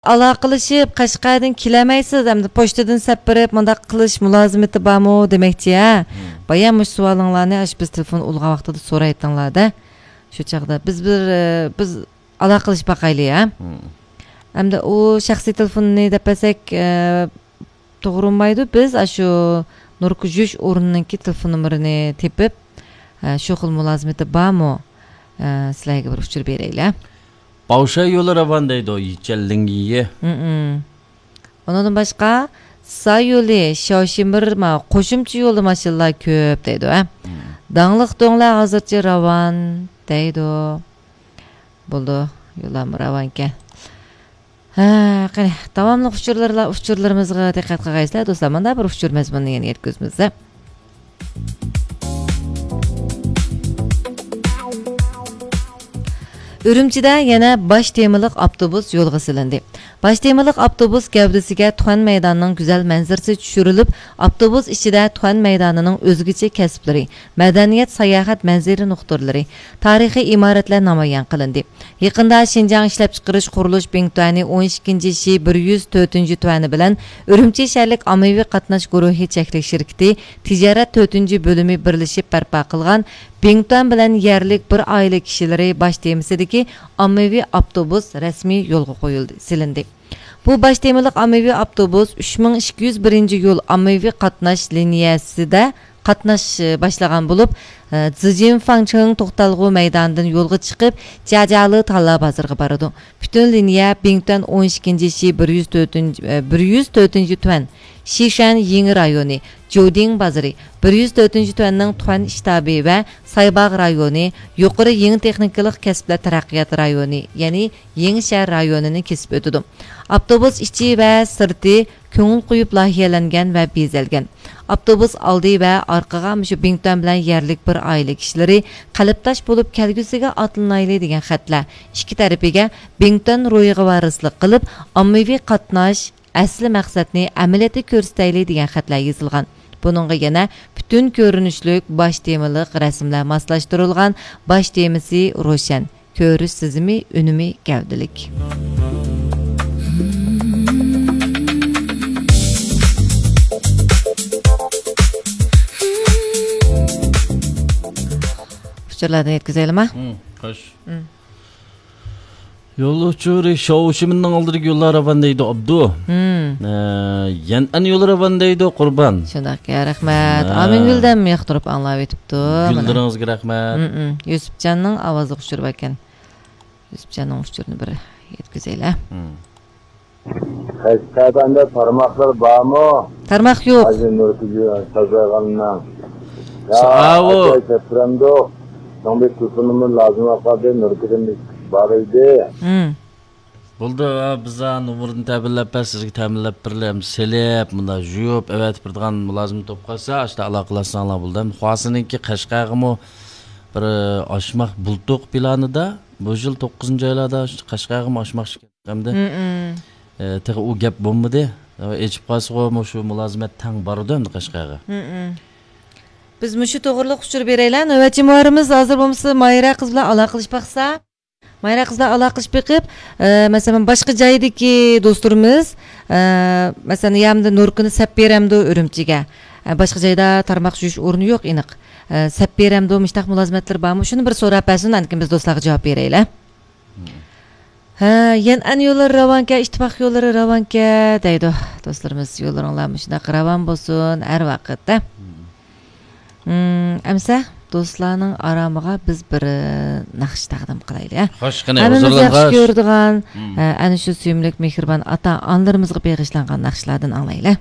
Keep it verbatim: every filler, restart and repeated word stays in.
ئالاقىلىشىپ، قەشقەردىن كېلەلمەيسىز، ئەمدى پوچتىدىن سەپ بېرىپ، مۇنداق قىلىش مۇلازىمىتى بارمۇ دېمەكچى، ھە؟ بايا مۇشۇ سوئالىڭلارنى ئاشۇ بىز تېلېفون ئۇلىغان ۋاقتىدا سورايتتىڭلار-دە. شۇ چاغدا بىز بىر، ئە، بىز ئالاقىلىشىپ باقايلى، ھە؟ ئەمدى ئۇ شەخسىي تېلېفوننى دەپ بەرسەك، ئە، توغرىلمايدۇ. بىز ئاشۇ نۇركا يۈيۈش ئورنىنىڭكى تېلېفون نومۇرىنى تېپىپ، ئە، شۇ خىل مۇلازىمىتى بارمۇ؟ ئە، سىلەرگە بىر ئۇچۇر بېرەيلى. باۋشياي يولى راۋان دەيدۇ، يىچەن لىڭيى. ئۇنىڭدىن باشقا، سا يولى، شياۋشىمىر، ما، قوشۇمچە يولدا ماشىنىلار كۆپ دەيدۇ، ھە؟ داڭلىق دۆڭلەر ھازىرچە راۋان دەيدۇ. بولدى، يوللارمۇ راۋانكەن. ھە، قېنى، داۋاملىق ئۇچۇرلىرىلا-، ئۇچۇرلىرىمىزغا دىققەت قىلغايسىلەر، دوستلار. مانا بىر ئۇچۇر مەزمۇنىنى يەنە يەتكۈزىمىز. ئۈرۈمچىدە يەنە باش تېمىلىق ئاپتوبۇس يولغا سېلىندى. باش تېمىلىق ئاپتوبۇس گەۋدىسىگە تۇەن مەيدانىنىڭ گۈزەل مەنزىرىسى چۈشۈرۈلۈپ، ئاپتوبۇس ئىچىدە تۇەن مەيدانىنىڭ ئۆزگىچە كەسىپلىرى، مەدەنىيەت، ساياھەت مەنزىرە نۇقتىلىرى، تارىخىي ئىمارەتلەر نامايان قىلىندى. يېقىندا شىنجاڭ ئىشلەپچىقىرىش قۇرۇلۇش بىڭتۈەنى ئون ئىككىنچى شى بىر يۈز تۆتىنچى تۈەنى بىلەن ئۈرۈمچى شەھەرلىك ئاممىۋى قاتناش گۇرۇھى چەكلىك شىركىتى تىجارەت تۆتىنچى بۆلۈمى بىرلىشىپ بەرپا قىلغان بىڭتۈەن بىلەن يەرلىك بىر ئائىلە كىشىلىرى باش تېمىسىدىكى ئاممىۋى ئاپتوبۇس رەسمىي يولغا قويۇلدى، سېلىندى. بۇ باش تېمىلىق ئاممىۋى ئاپتوبۇس ئۈچ مىڭ ئىككى يۈز بىرىنچى يول ئاممىۋى قاتناش لىنىيەسىدە قاتناش، ئى، باشلىغان بولۇپ، ئى، زىجىن فاڭچېڭ توختالغۇ مەيدانىدىن يولغا چىقىپ، جياجيالى تاللا بازىرىغا بارىدۇ. پۈتۈن لىنىيە بىڭتۈەن ئون ئىككىنچى شى بىر يۈز تۆتىنچى، ئى، بىر يۈز تۆتىنچى تۈەن، شىشۈەن يېڭى رايونى، جودىڭ بازىرى، بىر يۈز تۆتىنچى تۈەننىڭ تۈەن شتابى ۋە سايباغ رايونى، يۇقىرى يېڭى تېخنىكىلىق كەسىپلەر تەرەققىيات رايونى، يەنى يېڭى شەھەر رايونىنى كېسىپ ئۆتىدۇ. ئاپتوبۇس ئىچى ۋە سىرتى كۆڭۈل قويۇپ لايىھەلەنگەن ۋە بېزەلگەن. ئاپتوبۇس ئالدى ۋە ئارقىغا مۇشۇ بىڭتۈەن بىلەن يەرلىك بىر ئائىلە كىشىلىرى قەلبداش بولۇپ كەلگۈسىگە ئاتلىنايلى دېگەن خەتلەر، ئىككى تەرىپىگە بىڭتۈەن روھىغا ۋارىسلىق قىلىپ، ئاممىۋى قاتناش، ئەسلى مەقسەتنى ئەمەلىيەتتە كۆرسىتەيلى دېگەن خەتلەر يېزىلغان. بۇنىڭغا يەنە پۈتۈن كۆرۈنۈشلۈك باش تېمىلىق رەسىملەر ماسلاشتۇرۇلغان. باش تېمىسى روشەن، كۆرۈش سېزىمى ئۈنۈمى گەۋدىلىك. ئۇچۇرلاردىن يەتكۈزەيلىما؟ ھىم، خوش. ھىم. يول ئۇچۇرى شاۋشىمىننىڭ ئالدىدىكى يوللار راۋان دەيدۇ، ئابدۇ. ھىم. ئە، يەنئەن يولى راۋان دەيدۇ، قۇربان. شۇنداق يا، رەھمەت. ھە. ئامىنگۈل دەم ياقتۇرۇپ ئاڭلاۋېتىپتۇ. مانا. گۈللىرىڭىزگە رەھمەت. ھىم، ھىم. يۈسۈپجاننىڭ ئاۋازلىق ئۇچۇرى باركەن. يۈسۈپجاننىڭ ئۇچۇرىنى بىر يەتكۈزەيلى. ھىم. قەشقەردە تارماقلار بارمۇ؟ تارماق يوق. ھازىر نۇركۈزى سازاغاننىڭ. يا، ساۋۇ. ئاجايىپ سەپرەمدۇق. شۇنىڭ بىر تېلېفونىمۇ لازىم بولۇپ قالدى، نۇركۈزىم بار ئىدى. ھىم. بولدى، ھە، بىز ھە نومۇرىنى تەمىنلەپ بەر، سىزگە تەمىنلەپ بېرىلى، ئەمدى سېلىپ، مۇنداق يۇيۇپ، ئەۋەتىپ بېرىدىغان مۇلازىمەت بولۇپ قالسا، ئاشۇنداق ئالاقىلەشسەڭلار بولدى. ئەمدى خۇاسىنىڭكى قەشقەرگىمۇ بىر ئاشماق بۇلتۇق پىلانىدا، بۇ يىل توققۇزىنچى ئايلاردا قەشقەرگىمۇ ئاشماقچى ئىكەن. ئەمدى، مم. ئى، تېخى ئۇ گەپ بولمىدى. ئېچىپ قالسىغۇ، مۇشۇ مۇلازىمەت تەڭ بارىدۇ ئەمدى قەشقەرگە. مم. بىز مۇشۇ توغرىلىق ئۇچۇر بېرەيلى. نۆۋەتچى مۇھەررىرىمىز ھازىر بولمىسا ماھىرە قىز بىلەن ئالاقىلىشىپ باقسا. ماھىرە قىز بىلەن ئالاقىلىشىپ بېقىپ، ئى، مەسىلەن، باشقا جايدىكى دوستلىرىمىز، ئى، مەسىلەن، يامدا نۇركىنى سەپ بېرەمدۇ ئۈرۈمچىگە؟ ئى، باشقا جايدا تارماق يۇيۇش ئورنى يوق، ئېنىق. ئى، سەپ بېرەمدۇ، مۇشۇنداق مۇلازىمەتلىرى بارمۇ؟ شۇنى بىر سوراپ بەرسۇن، ئاندىن كېيىن بىز دوستلارغا جاۋاب بېرەيلى. ھە، يەنئەن يوللىرى راۋانكەن، ئىتتىپاق يوللىرى راۋانكەن دەيدۇ دوستلىرىمىز. يوللىرىڭلار مۇشۇنداق راۋان بولسۇن ھەر ۋاقىت، ھە. مم، ئەمسە دوستلارنىڭ ئارامىغا بىز بىر، ئى، ناخشا تەقدىم قىلايلى، ھە. خوش، قېنى، ھەممىمىز ياخشى كۆرىدىغان، مم. ھە، ئەنە شۇ سۆيۈملۈك، مېھرىبان ئاتا-ئانىلىرىمىزغا بېغىشلانغان ناخشىلاردىن ئاڭلايلى.